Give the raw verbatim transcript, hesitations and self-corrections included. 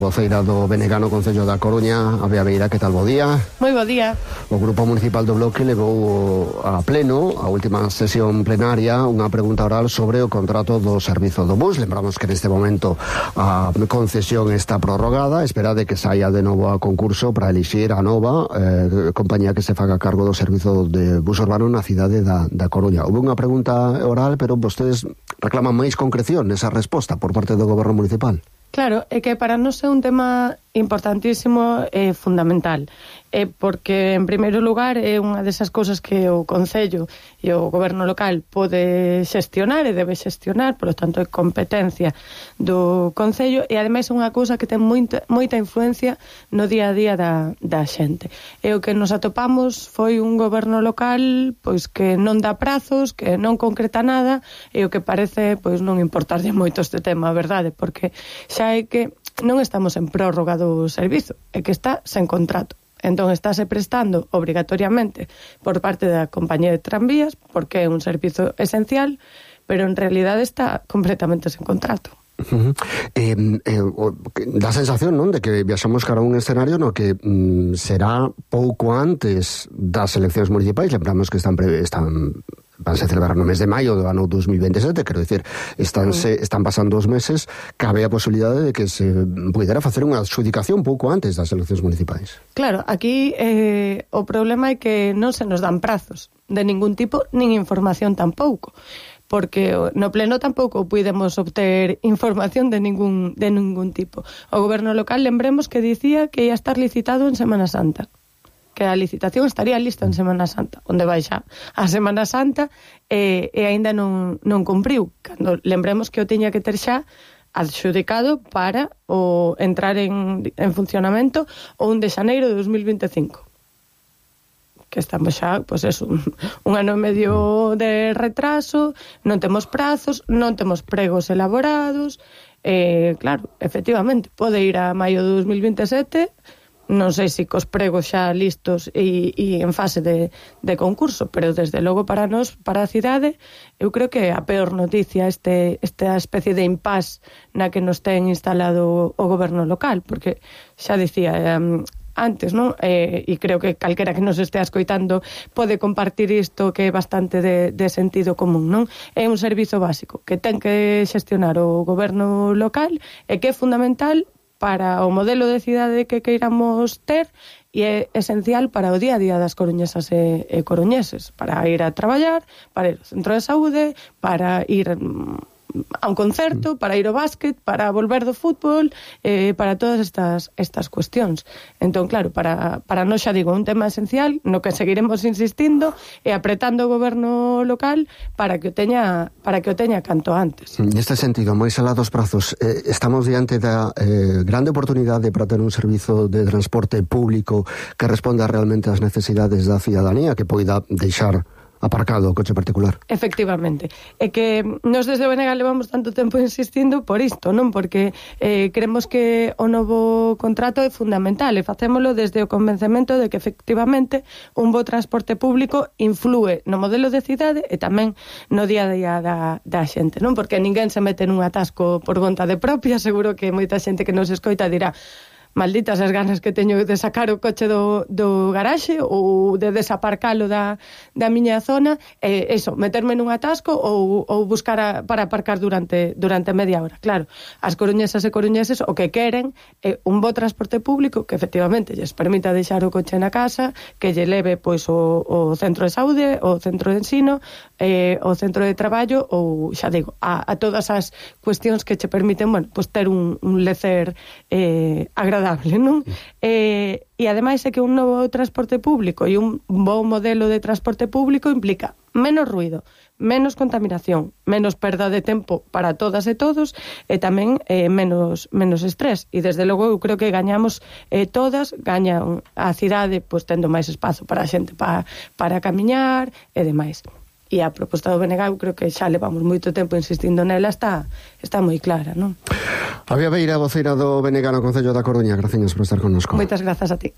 Voceira do B N G no Concello da Coruña, a Bea Beira, que tal, bo día? Moi bo día. O Grupo Municipal do Bloque levou a pleno, a última sesión plenaria, unha pregunta oral sobre o contrato do servizo do bus. Lembramos que neste momento a concesión está prorrogada, esperade que saia de novo a concurso para elixir a nova eh, compañía que se faga cargo do servizo de bus urbano na cidade da, da Coruña. Houve unha pregunta oral, pero vostedes reclaman máis concreción nesa resposta por parte do Goberno Municipal. Claro, é que para nós é un tema importantísimo e fundamental, é porque, en primeiro lugar, é unha desas cousas que o Concello e o Goberno local pode xestionar e debe xestionar, por lo tanto, é competencia do Concello, e, ademais, é unha cousa que ten moita, moita influencia no día a día da, da xente. E o que nos atopamos foi un Goberno local pois que non dá prazos, que non concreta nada, e o que parece pois non importarlle moito este tema, a verdade, porque xa é que non estamos en prórroga do servizo, é que está sen contrato. Entón, estáse prestando obrigatoriamente por parte da compañía de tranvías, porque é un servizo esencial, pero en realidade está completamente sen contrato. Uh-huh. eh, eh, dá a sensación, non, de que viaxamos cara a un escenario no que mm, será pouco antes das eleccións municipais. Lembramos que están, pre, están vanse celebrar no mes de maio do ano dos mil veintisiete, quero dicir, están, se, están pasando os meses, cabe a posibilidade de que se pudera facer unha adxudicación pouco antes das eleccións municipais. Claro, aquí eh, o problema é que non se nos dan prazos de ningún tipo, nin información tampouco, porque no pleno tampouco pudemos obter información de ningún, de ningún tipo. O Goberno local, lembremos que dicía que ia estar licitado en Semana Santa, que a licitación estaría lista en Semana Santa, onde vai xa a Semana Santa, e, e aínda non, non cumpriu, cando lembremos que o tiña que ter xa adxudicado para o entrar en, en funcionamento o un de xaneiro de dos mil veinticinco. Que estamos xa, pois pues eso, un, un ano e medio de retraso, non temos prazos, non temos pregos elaborados, e, claro, efectivamente, pode ir a maio de dos mil veintisiete, non sei se cos pregos xa listos e, e en fase de, de concurso, pero desde logo para nós, para a cidade, eu creo que a peor noticia este, esta especie de impás na que nos ten instalado o goberno local, porque xa dicía um, antes, non? Eh, e creo que calquera que nos estea escoitando pode compartir isto, que é bastante de, de sentido común, non? É un servizo básico que ten que xestionar o goberno local e que é fundamental para o modelo de cidade que queiramos ter e é esencial para o día a día das coruñesas e, e coruñeses, para ir a traballar, para ir ao centro de saúde, para ir a un concerto, para ir ao básquet, para volver do fútbol, eh, para todas estas estas cuestións. Entón, claro, para, para nós, xa digo, un tema esencial no que seguiremos insistindo e apretando o goberno local para que o teña para que o teña canto antes. Neste sentido, moi alá dos prazos, eh, estamos diante da eh, grande oportunidade para ter un servizo de transporte público que responda realmente ás necesidades da cidadanía, que poida deixar aparcado o coche particular. Efectivamente. É que nos desde o B N G levamos tanto tempo insistindo por isto, non? Porque eh, creemos que o novo contrato é fundamental e facémolo desde o convencemento de que efectivamente un bo transporte público inflúe no modelo de cidade e tamén no día a día da, da xente, non? Porque ninguén se mete nun atasco por vontade propia, seguro que moita xente que nos escoita dirá: malditas as ganas que teño de sacar o coche do, do garaxe ou de desaparcalo da, da miña zona, e eh, eso, meterme nun atasco ou, ou buscar a, para aparcar durante, durante media hora. Claro, as coruñesas e coruñeses o que queren é un bo transporte público que efectivamente lles permita deixar o coche na casa, que lle leve pois o, o centro de saúde, o centro de ensino, eh, o centro de traballo ou, xa digo, a, a todas as cuestións que che permiten, bueno, pois ter un, un lecer eh, agradable, non? Eh, e ademais é que un novo transporte público e un bo modelo de transporte público implica menos ruido, menos contaminación, menos perda de tempo para todas e todos e tamén eh, menos menos estrés. E desde logo eu creo que gañamos eh, todas, gaña a cidade pois tendo máis espazo para a xente para, para camiñar e demais. E a proposta do B N G, eu creo que xa levamos moito tempo insistindo nela, está, está moi clara, non? A Bea Beira, voceira do B N G no Concello da Coruña, gracias por estar connosco. Moitas grazas a ti.